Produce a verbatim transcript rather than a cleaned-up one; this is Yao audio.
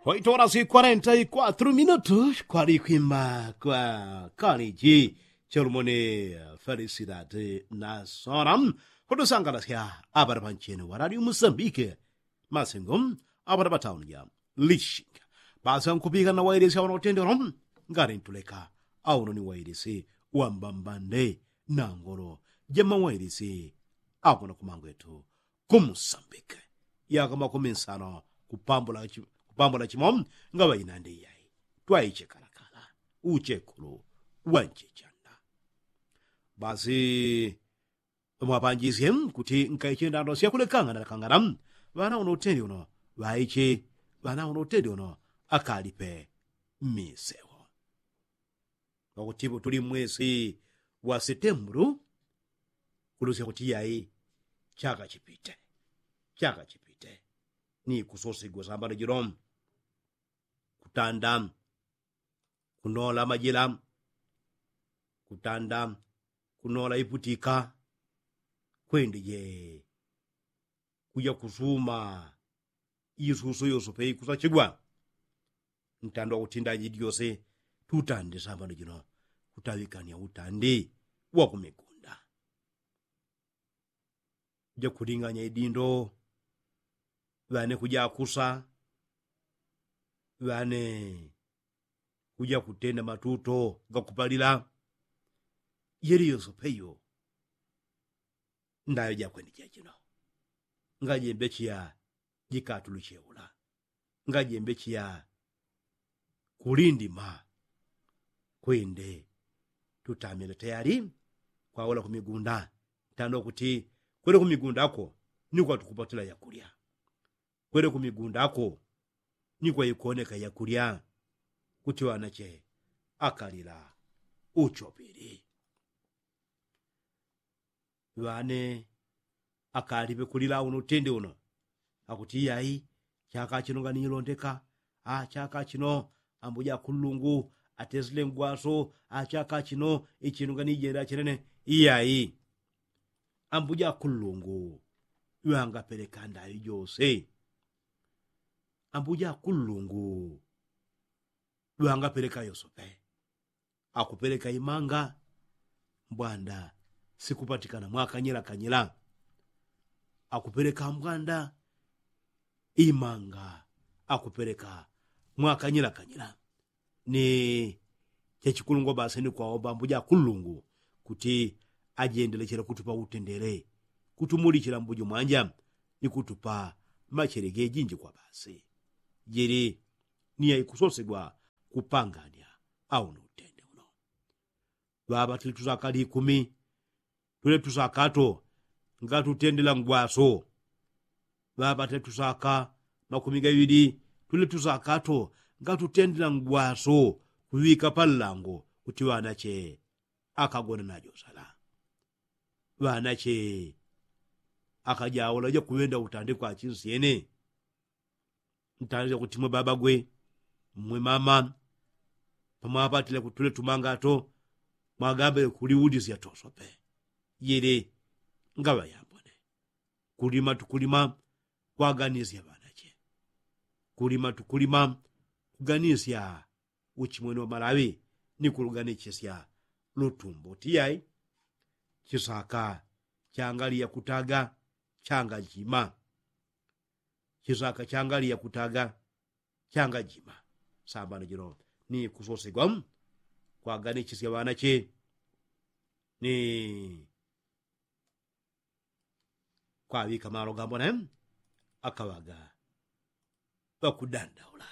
Oito horas y kwarenta y kwatru minutu kwali kwimba kwa kaliji cholumoni. Felisidad na sora kutusangalasya apata pancheni wa radio musambike masingo apata patauni ja lishinga. Basi ankupika na wailisi auna utendero ngati ntuleka auno ni wailisi wambambande na ngolo jamawailisi akuna kumangwetu kumusambike yaka makumi nsano kupambula chimo. Ngaŵainandi iyai twaichekalakala uchekulu wanchichanda. Basi mwapanjisye kuti nkaiche ndando syakulekangana lakangana ŵana uno utendi uno ŵaiche ŵana uno utendi uno akalipe mmisewo. Wakutipo tuli mmwesi wa setembulu kulusya kuti iyai chaka chipite chaka chipite ni kusosigwa sambano jilo kutanda kunola majila kutanda kunola iputika kwende je kuja kusuma isuso yosope ikusachigwa. Ntandwa kutinda jidi yose tutande sambano jino kutaŵikania utandi wa kumigunda. Jakulinganya idindo ŵane kujakusa ŵane kujakutenda matuto gakupalila. Yeli yosope iyo ndayo jakwende jajino ngajembe chiya jikatulucheula ngajembe chiya kulindima kwende tutamile tayali kwaula kumigunda. Ntandwa kuti kwele kumigunda ako ni kwatukupatila yakulya kwele kumigunda ako ni kwaikoneka yakulya. Kuti ŵanache akalila uchopili ŵane akalipe kulila uno utende uno akuti iyai chaka chino nganilondeka. Achaka chino ambuja kullungu atesile ngwaso achaka chino ichino nganijenda chenene. Iyai ambuja kullungu ŵangapeleka ndayo jose ambuja kullungu ŵangapeleka yosope. Akupeleka imanga mbwanda sikupatikana mwakanyela kanyela. Akupeleka mbwanda imanga akupeleka mwakanyela kanyela. Ni chachikulungwa basi ni kwaomba mbuja kullungu kuti ajendelechela kutupa utendele kutumulichila mbuju mwanja ni kutupa machele gejinji kwa basi. Jili ni yaikusosegwa kupangania au ni utende uno. Ŵaŵa tuli tusaka likumi tule tusaka to ngatutendela ngwaso. Ŵaŵa tule tusaka makumi gaŵili tule tusaka to ngatutendela ngwaso kuŵika panlango kuti ŵanache akagona najosala. Ŵanache akajaula jakuŵenda utande kwa chinsyene. Ntandile kuti mwe baba gwe mwe mama pamwapatile kutule tumangato mwagambile kuliulisya tosope. Yele ngaŵa yambone kulima tukulima kwaganisya ŵanache kulima tukulima kuganisya uchimwene wa malaŵi ni kuluganisya lutumbo tiyai. Chisaka changali yakutaga changa jima. Chisaka changali yakutaga changa jima. Sambano jino ni kusosegwa kwaganisya ŵanache ni kwaŵika malo gambone akaŵaga ŵakudandaula.